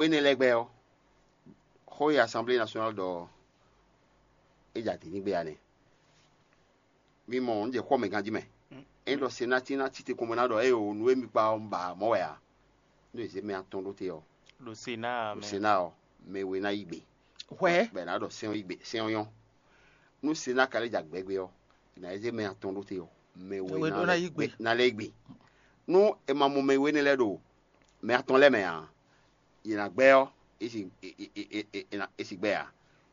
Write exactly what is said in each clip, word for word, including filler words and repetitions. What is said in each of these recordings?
Énɛ́ lɛ́ɛ gbɛ ɔ́, xó e Assemblée nationale ɖɔ ɔ́, é ja dǐ ní gbe ǎ nɛ́. Mi mɔ nǔ jɛ xɔ mɛ ganjí mɛ. Ényí ɖɔ Senáa cí ná cí te kɔn bó ná ɖɔ éeǒ, nǔ e mi kpa ɔ́, un ba mɔ̌ wɛ ǎ. Nú è zě mɛ atɔn ɖó te ɔ́, Ɖo Senáa ɖo mɛ. Senáa ɔ́, mɛ we ná yí gbe. Hwɛ. Bɔ è nǎ ɖɔ sɛ́n ɔ́ yí gbe, sɛ́n ɔ́ nyɔ́. Nú Senáa ka lɛ́ ja gbɛgbɛ ɔ́, è nǎ zé mɛ atɔn ɖó te ɔ́, mɛ we Mɛ we ná ɖó ná lɛ́ yí gbe. Ná lɛ́ yí gbe. Nú è ma mɔ mɛ we énɛ́ lɛ́ɛ ɖo mɛ atɔn lɛ́ɛ mɛ ǎ, yě ná gbɛ ɔ́, é si é- é- é- é- é- é ná- é si gbɛ ǎ.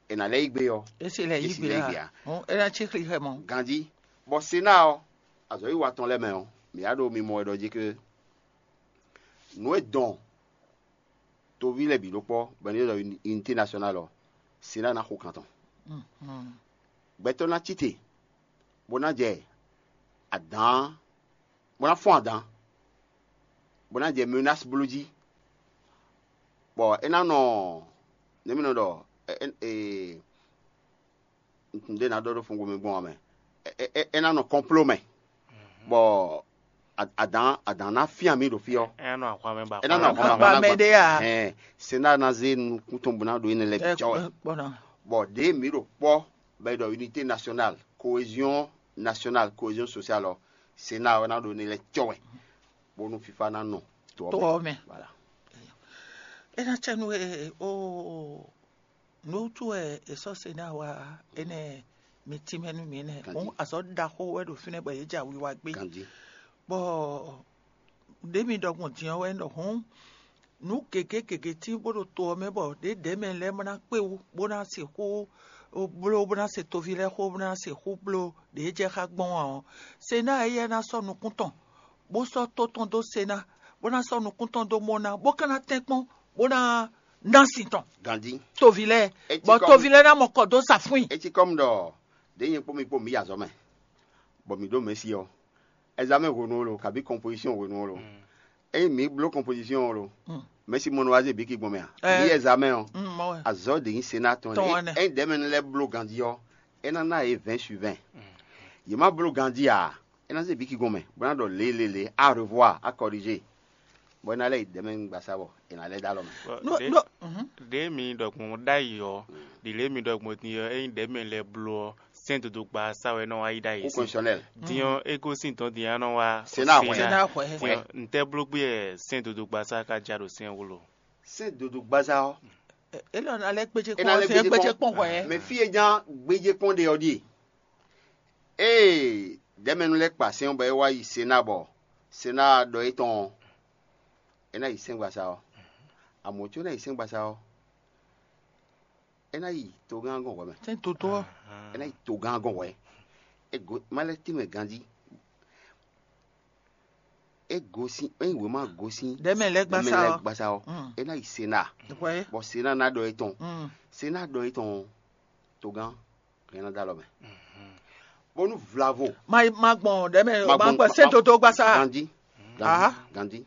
È nǎ lɛ́ yí gbe ɔ́, É si lɛ é yí si gbe lɛ́ yí gbe ǎ. ǎ. Hɔn, é ná cí xlixɛ mɔ. Ganjí, bɔ Senáa ɔ́, azɔ̌wiwa tɔn lɛ́ɛ mɛ ɔ́, mǐ wá ɖo mimɔ wɛ ɖɔ jí ké nǔ e dɔn toví lɛ́ɛ bǐ ɖó kpɔ́, bɔ è nɔ ylɔ́ ɖɔ unité nationale ɔ́, Senáa ná xo kan tɔn. Gbɛtɔ́ ná cí te, bó ná jɛ adǎn, bó ná fɔ́n adǎn, bó ná jɛ menace bló jí, bɔ é ná nɔ nɛ̌ mi nɔ ɖɔ ɛ- ɛ- ee, nǔɖé ná ɖɔ ɖó fúngo mi gbɔn ɔ́ mɛ. É- é- é ná nɔ kɔnpló mɛ, bɔ a- adǎn adǎn ná fyán mì ɖo fí ɔ́. É ná nɔ ahwan mɛ ba É ná nɔ ahwan mɛ ba ahwan mɛ ɖé a? Hɛn, Senáa ná zé nukún tɔn bó ná ɖo énɛ́ lɛ́ɛ bǐ cɔ́ wɛ. Bɔ ɖěe mǐ ɖo kpɔ́ bɔ è ɖɔ unité nationale, cohésion nationale, cohésion sociale ɔ́, Senáa ɔ́ ná ɖo énɛ́ lɛ́ɛ cɔ́ wɛ, bónú fífá ná nɔ to ɔ́ To mɛ. Ɔ́ mɛ. Voilà. É ná cɛ nú e o nǔ wútu wɛ è sɔ́ Senáa wá énɛ́ mi tínmɛ nú mǐ nɛ́. Ganjí. Hǔn azɔ̌ ɖaxó wɛ ɖo fínɛ́ bɔ yě jɛ awi wa gbé. Ganjí. Bɔ ɖě mi ɖɔ gbɔn din ɔ́ wɛ ɖɔ hǔn nǔ gěgé gěgé tín bó ɖo to ɔ́ mɛ bɔ ɖědɛ̌ mɛ lɛ́ɛ bó ná kpé wú bó ná sixú bló bó ná se toví lɛ́ɛ xó bó ná sixú bló ɖě jɛ xá gbɔn ɔ́, Senáa éyɛ́ ná sɔ́ nukún tɔn bó sɔ́ tó tɔn dó Senáa bó ná sɔ́ nukún tɔn dó mɔ ná bó ka ná tɛ́nkpɔ́n bó ná ná sin tɔn Ganjí. Toví lɛ́ɛ Etí bɔ kɔ́ toví lɛ́ɛ ná mɔ kɔ dó sa fún i. Etí kɔ́mu ɖɔ ɖě nyɛ kpó mi kpó mǐ yi azɔ̌ mɛ, bɔ mǐ ɖó mɛ̌si ɔ́, ɛzamɛ́n hwenu ɔ́ lo, kabí kɔnpozisiyɔn hwenu ɔ́ lo. Ényí mǐ bló kɔnpozisiyɔn ɔ́ lo, mɛ̌si mɔ nɔ wá zé bǐ ki gbɔn mɛ a? Ɛ. Mǐ yi ɛzamɛ́n ɔ́, Mm, mɔ wɛ. Azɔ̌ ɖě nyí Senáa tɔn Tɔn wɛ nɛ́. Ényí ɖɛ̌mɛnu lɛ́ɛ bló ganjí ɔ́, é ná ná yě vɛ̌ɛn su vɛ̌ɛn. Yě má bló ganjí ǎ, é ná zé bǐ ki gbɔn mɛ, bó ná ɖɔ lě lě lě, à revoir, à corriger. Bɔ é ná lɛ́ yi ɖɛ̌mɛnu gbasá bɔ è nǎ lɛ́ dó alɔ mɛ. Bɔ No- ɖě- no- mhm. Ɖě mi ɖɔ gbɔn ɖ'ayǐ ɔ́, ɖi lě mi ɖɔ gbɔn din ɔ́, ényí ɖɛ̌mɛ lɛ́ɛ bló ɔ́, sɛ́n dodogba sa wɛ nɔ wá yi ɖ'ayǐ Kú sín. Constitutionnel. Din ɔ́, é gosín dɔn din ɔ́ nɔ wá Sɛ́n ná hwɛ. Sɛ́n ná hwɛ. Din ɔ́, ntɛ́ bló gbé wɛ sɛ́n dodogba sa ka ja ɖo sɛ́n wú lo? Sɛ́n dodogba sa ɔ́, É lɔ ná lɛ́ gbéjé é kpɔ́n ná lɛ́ sɛ́n gbéjé gbéjé kpɔ́n. Kpɔ́n hwɛ. Mɛ fí e nya gbéjé kpɔ́n ɖe ɔ́ ɖíe. Ée ɖɛ̌mɛnu lɛ́ɛ kpa sɛ́n ɔ́ bɔ é wá yi Sená bɔ Sená ɖɔ étɔn ɔ́, é ná yi sɛ́ngbasá ɔ́. Amɔ̌ có é ná yi sɛ́ngbasá ɔ́, é ná yi togán gɔn hwɛ mɛ. Sɛ́n dodó ɔ́. É ná yi togán gɔn hwɛ. É go má lɛ́ tínmɛ ganjí. É gosín, é nyi wěma gosín. Ɖɛ̌mɛ lɛ́ɛ gbasá Ɖɛ̌mɛ lɛ́ɛ ɔ́. Gbasá ɔ́. Mm. É ná yi Sená. Hwɛ. Bɔ Sená ná ɖɔ étɔn. Mm. Sená ɖɔ étɔn ɔ́, togán hɛn ná dó alɔ mɛ. Bónú vlavo Ma ma gbɔn ɖɛ̌mɛ Ma ma gbɔn- gbɔn sɛ́n ma- dodó gbasá. Ganjí. Ganjí. Aha. Ganjí.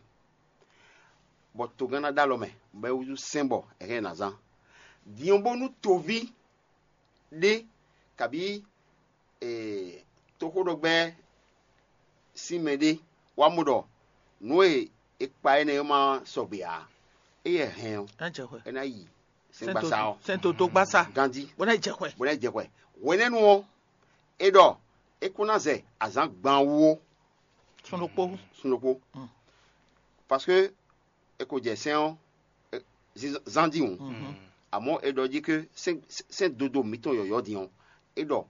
Bɔ togán ná dó alɔ mɛ, bɔ é wúzú sɛ́n bɔ è hɛn ná zán. Din ɔ́ bónú toví ɖé kabí ee, toxóɖɔgbɛ́ sín mɛɖé wá mɔ ɖɔ nǔ e è kpa énɛ́ ɔ́ ma sɔgbe ǎ. Éyɛ́ hɛn ɔ́, Ná jɛ hwɛ. É ná yi sɛ́ngbasá ɔ́ Sɛ́n dodó gbasá. Ganjí Bó ná jɛ hwɛ. Bó ná jɛ hwɛ. Hwenɛ́nu ɔ́, é ɖɔ é kún ná zɛ azǎn gban wú ó. Sun ɖokpó. Sun ɖokpó. Parce que è ko jɛ sɛ́n ɔ́ zán dín wǔ. Amɔ̌ è ɖɔ jí ké sɛ́n dodo mǐtɔn yɔ̌yɔ́ din ɔ́, é ɖɔ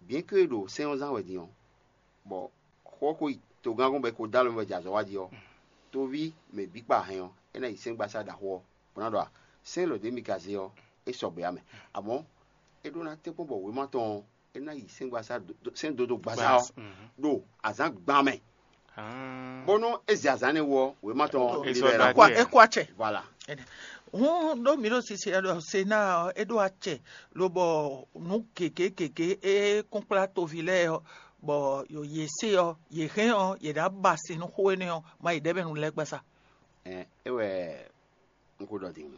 bien que è ɖo sɛ́n ɔ́ zán wɛ din ɔ́, bɔ xó ko yi togán gɔ́n bɔ è ko dó alɔ mɛ bɔ è jɛ azɔ̌ wá jí ɔ́, tóví mɛ bǐ kpa hɛn ɔ́, é ná yi sɛ́ngbasá ɖaxó ɔ́, bó ná ɖɔ sɛ́n lɔ ɖě mi ka zé ɔ́, é sɔgbe ǎ mɛ. Amɔ̌ é ɖó ná tɛ́nkpɔ́n bɔ wěma tɔn ɔ́, é ná yi sɛ́ngbasá sɛ́n dodo gbasá ɔ́ ɖo azǎn gban mɛ. Bónú é zɛ azǎn énɛ́ wú ɔ́, wěma tɔn ɔ́, É sɔ́ ɖó akpɛ́. É kó acɛ. Voilà. Hǔn ɖó mǐ ɖo sisi ɛ ɖɔ Sená ɔ́, é ɖó acɛ lobɔ nǔ gěgé gěgé e kúnkplá toví lɛ́ɛ ɔ́, bɔ yě se ɔ́, yě hɛn ɔ́, yě ná ba sin nú xó énɛ́ ɔ́, ma yi ɖɛ̌mɛ nú lɛ́ɛ gbasá. Ɛ é wɛ un ko ɖɔ din.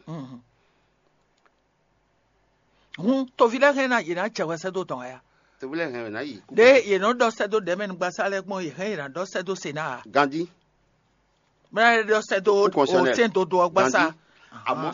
Hǔn toví lɛ́ɛ hɛn ná yě ná jɛ hwɛ sɛ́ dó tɔn wɛ a? Toví lɛ́ɛ hɛn wɛ ná yi. Ɖé yě nɔ ɖɔ sɛ́ dó ɖɛ̌mɛnugbasá lɛ́ɛ gbɔn yě hɛn yě ná ɖɔ sɛ́ dó Sená a? Ganjí. Bɛ́ ná ɖɔ sɛ́ dó Kú constitutionnel. Sɛ́n dodó ɔ́ gbasá. Ganjí. Àmọ́